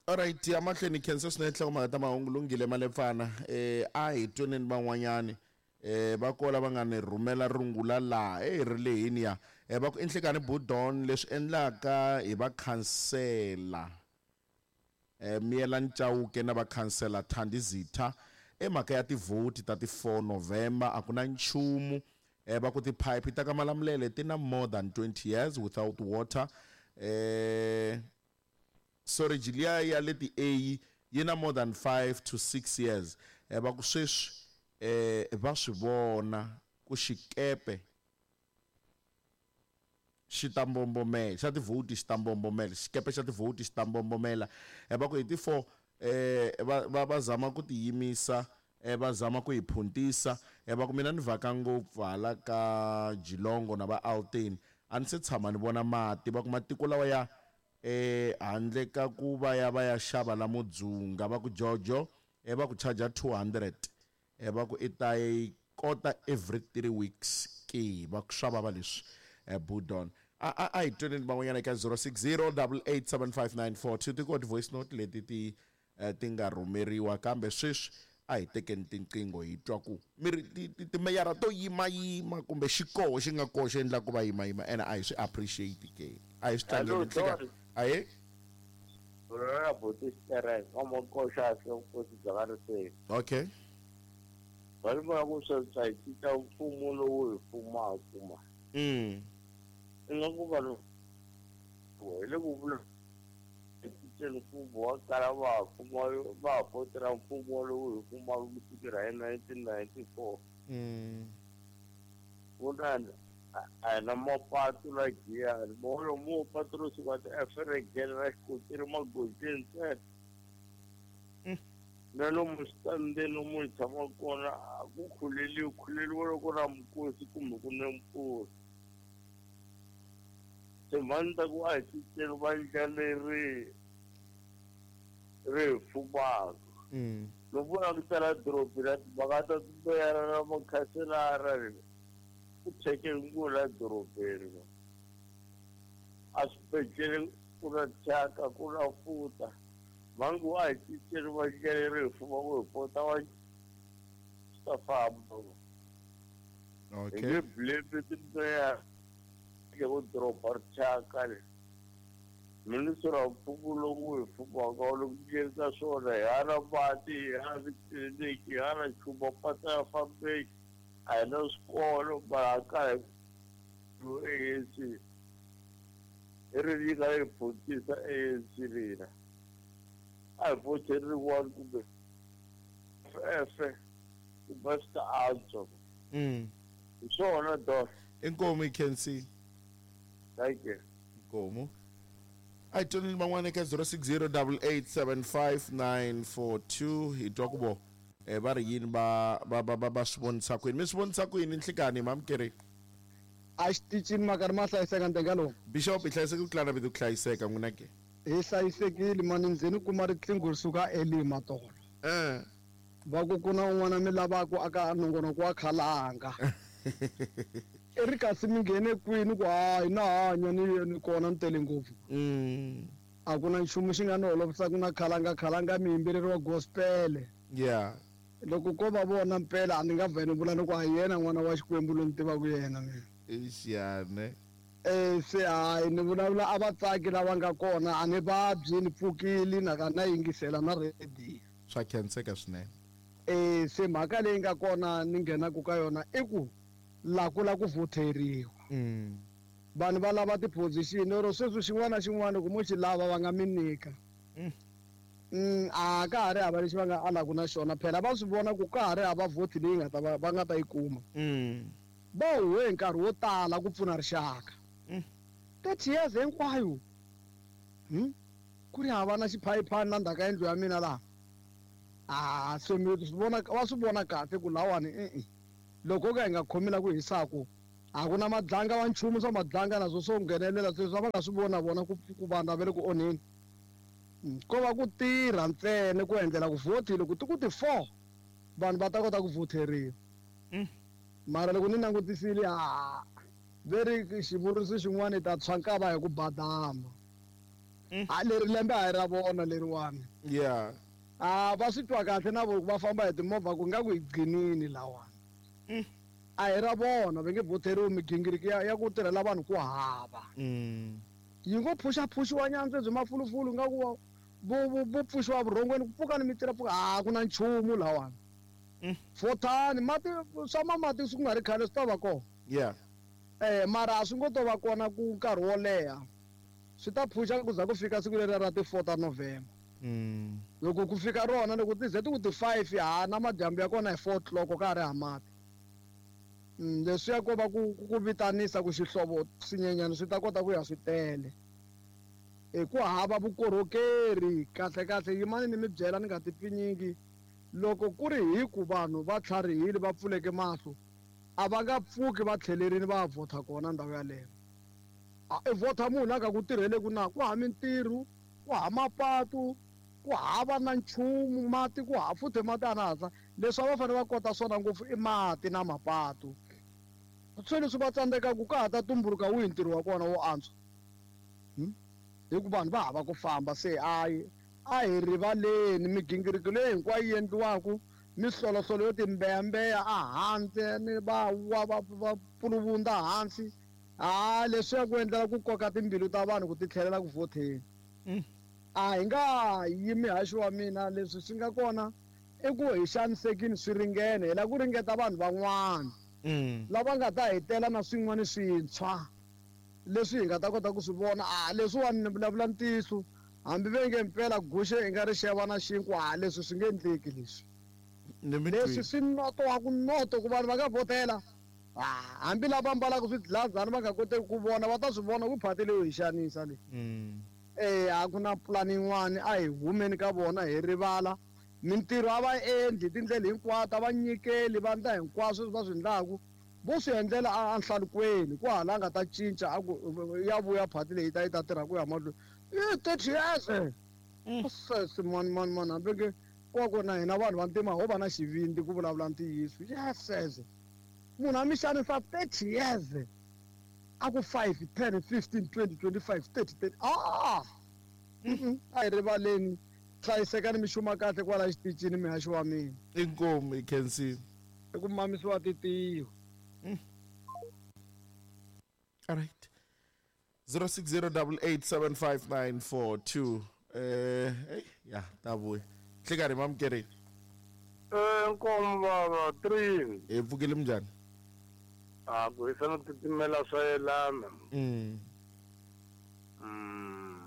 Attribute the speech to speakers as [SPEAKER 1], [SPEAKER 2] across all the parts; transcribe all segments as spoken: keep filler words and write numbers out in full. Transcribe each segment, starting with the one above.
[SPEAKER 1] Alright, ya mahlweni khensa swinene nhlokomhaka ta mahungu lunghile malepfana eh a hi tweneni van'wanyani eh va kola va nga ni rhumela rungula laha eh ri lehini ya eh va ku enhlekani budon leswi endlaka hi va khansela eh Miyelani Chauke na va khansela Thandi Zitha emhaka ya tivhoti ta ti four November a ku na nchumu eh va ku tiphayiphi ta ka Malamulele ti na more than twenty years without water eh sorry liya ya le ti A yi na more than five to six years eh va ku sweswi eh va swi vona ku xikepe xi ta mbombomela xa tivhoti xi ta mbombomela xikepe xa tivhoti xi ta mbombomela eh va ku hi ti four eh va va va zama ku tiyimisa eh va zama ku hi phuntisa eh va ku mina ni vhaka ngopfu hala ka Jilongo na va Alten a ni se tshama ni vona mati va ku matiko lawa ya eh handle ka ku va ya va ya xava la Mudzunga va ku Jojo eh va ku charge two hundred eh va ku i ta yi kota every three weeks ke va ku xava va leswi eh budon a a a hi tweneni van'wanyana eka zero six zero double eight seven five nine four two ti koti voice note leti ti eh, ti nga rhumeriwa kambe sweswi a hi tekeni tinqingho hi twa ku mi ri ti- ti- timeyara to yimayima kumbe xikoho xi nga koho xi endla ku va yimayima ene a hi swi appreciate ke a hi swi
[SPEAKER 2] Hello,
[SPEAKER 1] tlangeli nhleka
[SPEAKER 2] Don.
[SPEAKER 1] ahe
[SPEAKER 2] Rona buti Sterek, wa Makoxa vukosi bya ka Riseni.
[SPEAKER 1] Okay.
[SPEAKER 2] Va ri vona ku sweswi hi cinca mfumo lowu hi fumaka ma.
[SPEAKER 1] Mm.
[SPEAKER 2] Ingaku vanhu hi le ku vula cinceni mfumo wa kala va ha fuma va ha vhotela mfumo lowu hi fumaka ku sukela hi nineteen ninety-four.
[SPEAKER 1] Mm.
[SPEAKER 2] Vunani a hi na mapatu la Giyani molo mo patu ro suka ti-Eferegeni ra xikotiri magondzweni ntsena. Na lomu switandini lomu hi tshamaka kona a ku khuleliwi khuleliwa loko na mikosi kumbe ku ne mpfula. Timhani ta ku a hi cinceni vandla leri ri hi fumaka.
[SPEAKER 1] Mm.
[SPEAKER 2] Loko u langutela dorobeni ra timhaka ta timeyara na makhanselara ri ku thyeke ngopfu la dorobeni. A swibedhlele ku na thyaka ku na futa. Mhangu a hi cinceni vandla leri hi fumaka hi pota wa swi ta famba.
[SPEAKER 1] Okay.
[SPEAKER 2] Hi nge blame timeyara ku doroba ri thyaka leri. Minister wa mfumo lowu hi fumaka wu le ku endleni ka swona hi hala mati hi hala titliliniki hi hala nchumu mapatu ya fambeki a hi na swikolo mara a ka hi A N C hi ri yi nga yi phuntisa A N C lina a hi vhoteri rin'wana kumbe F F kumbe swi ta antswa.
[SPEAKER 1] Mm.
[SPEAKER 2] Hi swona Don.
[SPEAKER 1] Inkomu you can see.
[SPEAKER 2] Thank you.
[SPEAKER 1] Inkomu. A hi tweneni van'wana eka zero six zero double eight seven five nine four two hi twa ku vo eh va ri yini va va va va va swi vonisa ku yini mi swi vonisa ku yini nhlikani mamukeri
[SPEAKER 3] a xitichini makari ma hlayiseka ntenga lowu
[SPEAKER 1] Bishop hi hlayiseke ku tlula na vito ku hlayiseka n'wina ke
[SPEAKER 3] hi hlayisekile mani ndzeni kuma riqingho ri suka elima tolo
[SPEAKER 1] eh
[SPEAKER 3] va ku ku na un'wana mi lavaka aka nongonoko wa khalanga i ri kasi mi nghene kwini ku hayi na hanya ni ni kona ni tele ngopfu
[SPEAKER 1] mm
[SPEAKER 3] a ku na nchumu xi nga ni holovisaka na khalanga khalanga muyimbeleri wa gospel
[SPEAKER 1] yeah
[SPEAKER 3] loko ko va vona mpela a ni nga vheni vula ni ku a yena n'wana wa Xikwembu loyi ni tivaka yena mina
[SPEAKER 1] ixiyane
[SPEAKER 3] eh se hayi ni vulavula a vatsaki lava nga kona a ni vabyi ni pfukile na ka na yingisela na radio
[SPEAKER 1] swa khenseka swinene
[SPEAKER 3] eh se mhaka leyi nga kona ni nghenaka ka yona i ku la ku la ku voteriwa
[SPEAKER 1] mm
[SPEAKER 3] vanhu va lava ti-position ro sweswi xin'wana na xin'wana ku mo xi lava va nga mi nyika
[SPEAKER 1] Mm.
[SPEAKER 3] Mm, a ka ha ri hava lexi va nga alaku na xona phela va swi vona ku ka ha ri hava vote leyi nga ta va va nga ta yi kuma
[SPEAKER 1] mm
[SPEAKER 3] va huwe hi nkarhi wo tala ku pfuna rixaka
[SPEAKER 1] Mm.
[SPEAKER 3] thirty years hinkwayo hmm? ku ri hava na xiphayiphani na ndzhaku ka yindlu ya mina laha a se mi swi vona va swi vona kahle ku lawani e-e loko ka hi nga khomi la ku hisaku a ku na madlanga wa nchumu swa madlanga naswo swo nghenelela sweswi va nga swi vona vona ku ku vanhu va le ku onheni ko va ku tirha ntsena ku endlela ku vote loko ti ku ti four vanhu va ta kota ku voteriwa
[SPEAKER 1] Mm.
[SPEAKER 3] mara loko ni langutisile a ve ri xivuriso xin'wana i ta tshwa nkava hi ku badama A leri lembe a hi ra vona leriwani.
[SPEAKER 1] Yeah.
[SPEAKER 3] A va swi twa kahle na vo va famba hi timovha ku nga ku hi gcinini lawani. A hi ra vona va nge voteriwi migingiriko ya ya ku tirhela vanhu ku hava. Yi ngo phuxaphuxiwa nyantswe byi mafulufulu nga ku vo vo pfuxiwa vurhongweni ku pfuka ni mitira pfuka a ku na nchumu lawani. Fotani mati swa mamati swi ku nga ri khale swi ta va kona.
[SPEAKER 1] Yeah.
[SPEAKER 3] Eh mara a swi ngo to va kona ku nkarhi wo leha. Swi ta phuxa ku za ku fika siku leri ra ti four ta November.
[SPEAKER 1] Mm.
[SPEAKER 3] Loko ku fika rona loko ti ze ti ku ti five ha na madyambu ya kona hi four o'clock ka ha ri ha mati. Leswiya ko va ku ku vitanisa ku xihlovo swinyenyana swi ta kota ku ya swi tele. Hi ku hava vukorhokeri kahle kahle yimani ni mi byela ni nga ti pfinyingi. Loko ku ri hi ku vanhu va tlharihile va pfuleke mahlo a va nga pfuki va tlhelerini va vhota kona ndhawu yaleyo. A i vhota munhu a nga ku tirheleku na ku hava mintirho, ku hava mapatu, ku hava na nchumu mati ku hava futhi mati a na hatla. Leswi a va fanele va kota swona ngopfu i mati na mapatu. Swi leswi va tsandzekaku ka ha ta tumbuluka wihi ntirho wa kona wo antswa. Hi ku vanhu va hava ku famba se a a hi rivaleni migingiriko leyi hinkwayo yi endliwaka mihloloholo yo timbeyambeya a handle ni va wa va va puluvunda hansi. A leswiya ku endlela ku koka timbilu ta vanhu ku ti tlhelela ku vhoteni. A hi nga yimi haxi wa mina leswi swi nga kona i ku hi xanisekile swi ringene hi lava ku ringeta vanhu van'wana lava nga ta hetela na swin'wana swintshwa leswi hi nga ta kota ku swi vona. A leswiwani ni vulavula ntiyiso hambi ve nge mpela guxe hi nga ri xeva na xinkwa a leswi swi nge endleki leswi. Leswi swi noto wa ku noto ku vanhu va nga vhotela. Hambi lava ambalaka swidlazana va nga koteki ku vona va ta swi vona ku phati leyo hi xanisa leyi. Eh a ku na pulani yin'wani a hi humeni ka vona hi rivala. Mintirho a va endli tindlela hinkwato a va nyikeli va endla hinkwaswo leswi va swi endlaku vo swi endlela a nhlalukweni ku hala nga ta cinca a ku ya vuya phati leyi ta yi ta tirha ku ya mahlweni. I thirty years. Sesi mani mani mani hambi nge ku na hina vanhu va ntima ho va na xivindzi ku vulavula ntiyiso. Yes. Munhu a mi xanisa thirty years. A ku five, ten, fifteen, twenty, twenty-five, thirty, thirty. Ah! A hi rivaleni. Hlayisekani mi xuma kahle kwala xitichini mihaxi wa mina.
[SPEAKER 1] Inkomu i khensile.
[SPEAKER 3] I ku mamisiwa titiyo.
[SPEAKER 1] All right. zero six zero eight eight seven five nine four two. Eh, hey, ya ta vuya. Hlekani mamukeri.
[SPEAKER 2] Eh, nkomu baba three.
[SPEAKER 1] Hi pfukile minjhani?
[SPEAKER 2] A ku hisana titimela swa yelana.
[SPEAKER 1] Mm.
[SPEAKER 2] Mm.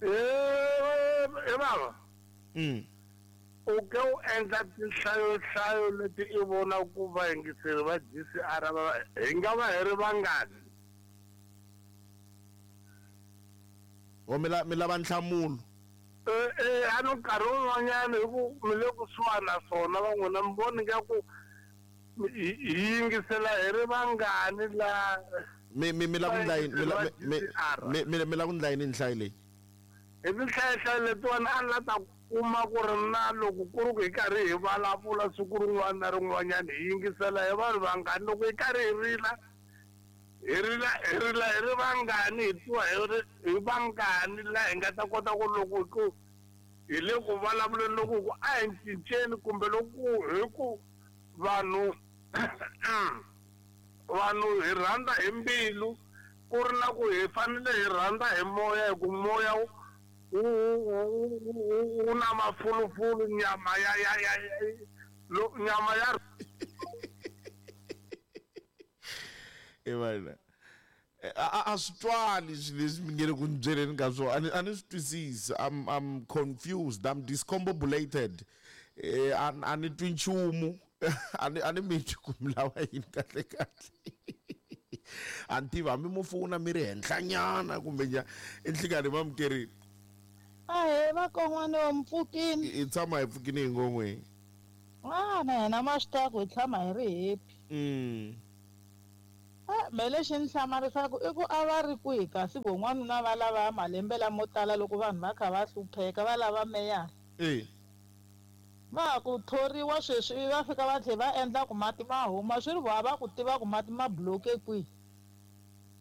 [SPEAKER 2] Eh, eh baba.
[SPEAKER 1] Mm.
[SPEAKER 2] U ke u endla tinhlayohlayo leti i vona ku vayingiseri va G C R va hi nga va hi ri vangani?
[SPEAKER 1] O mi la mi lava nhlamulo.
[SPEAKER 2] Eh eh a no nkarhi wun'wanyana hi ku mi le kusuhani na swona van'wina mi voni nga ku hi yingisela hi ri vangani la
[SPEAKER 1] mi mi mi la ku ndla yini mi mi mi mi la ku ndla yini nhlayo leyi?
[SPEAKER 2] Hi tinhlayohlayo letiwani a ni la ta kuma ku ri na loko ku ri ku hi karhi hi vulavula siku rin'wana na rin'wanyana hi yingisela hi vanhu vangani loko hi karhi hi rila hi rila hi rila hi ri vangani hi twa hi ri hi vangani la hi nga ta kota ku loko ku hi le ku vulavuleni loko ku a hi cinceni kumbe loko hi ku vanhu vanhu hi rhandza hi mbilu ku ri na ku hi fanele hi rhandza hi moya hi ku moya wu na mafulufulu nyama ya ya ya nyama ya
[SPEAKER 1] e a a swi twali swilo leswi mi nge le ku ni byeleni ka swona a ni a ni swi twisisi. I'm I'm confused, I'm discombobulated. Eh a a ni twi nchumu. A ni a ni mi twi ku mi lava yini kahle kahle. A ni tivi hambi mo fona mi ri henhlanyana kumbe njhani. I nhlikani mamukerini.
[SPEAKER 4] Ahee vakon'wana wa mpfukini.
[SPEAKER 1] Hi tshama hi pfukini hi ngon'weni.
[SPEAKER 4] Ah na hina ma swi tiva ku hi tshama hi ri happy.
[SPEAKER 1] Mm.
[SPEAKER 4] Ah me lexi ni hlamarisaka i ku a va ri kwihi kasi von'wanuna va lava malembe lamo tala loko vanhu va kha va hlupheka va lava meyara.
[SPEAKER 1] Eh.
[SPEAKER 4] Va ku thoriwa sweswi va fika va tlhela va endla ku mati ma huma swi ri vo a va ku tiva ku mati ma bloke kwihi.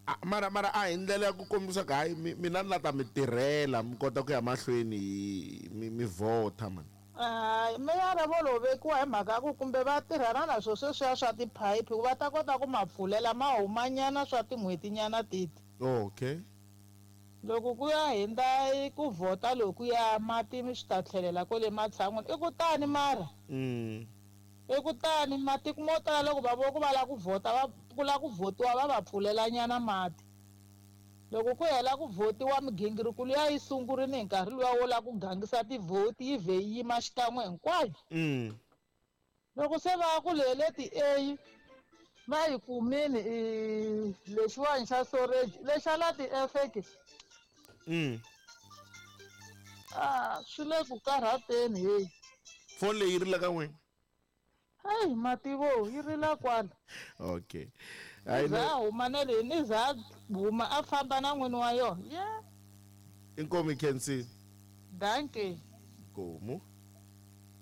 [SPEAKER 1] A- mara mara a hi ndlela ya ku kombisa ku hayi mi- mina ni la ta mi tirhela mi kota ku ya mahlweni hi mi mi vhota mani.
[SPEAKER 4] Hayi, meyara vo lo vekiwa hi mhaka ya ku kumbe va tirhana na swo sweswiya swa tiphayiphi ku va ta kota ku ma pfulela ma humanyana swa tin'hwetinyana teti.
[SPEAKER 1] Okay.
[SPEAKER 4] Loko ku ya hundza ku vhota lokuya mati swi ta tlhelela kwale matshan'wini. I ku tani mara.
[SPEAKER 1] Mm.
[SPEAKER 4] I ku tani matiko mo tala loko va vo ku va lava ku vhota va ku lava ku vhotiwa va va pfulelanyana mati. Loko ku hela ku vhotiwa migingiriko liya yi sungurile hi nkarhi luwa wo lava ku gangisa tivhoti yi vhe yi yima xikan'we hinkwayo.
[SPEAKER 1] Mm.
[SPEAKER 4] Loko se va ku leyi le ti-A va yi kumile i lexiwani xa storage lexa la ti-F ke.
[SPEAKER 1] Mm.
[SPEAKER 4] Ah, swi le ku karhateni heyi.
[SPEAKER 1] Foni leyi yi rila ka n'wina?
[SPEAKER 4] Hayi mativo yi rila kwala.
[SPEAKER 1] Okay.
[SPEAKER 4] Ni
[SPEAKER 1] Hayi
[SPEAKER 4] za
[SPEAKER 1] no
[SPEAKER 4] a huma na leyi ni za a huma a famba na n'wini wa yona. Yeah.
[SPEAKER 1] Inkomu Khensi.
[SPEAKER 4] Dankie.
[SPEAKER 1] Inkomu.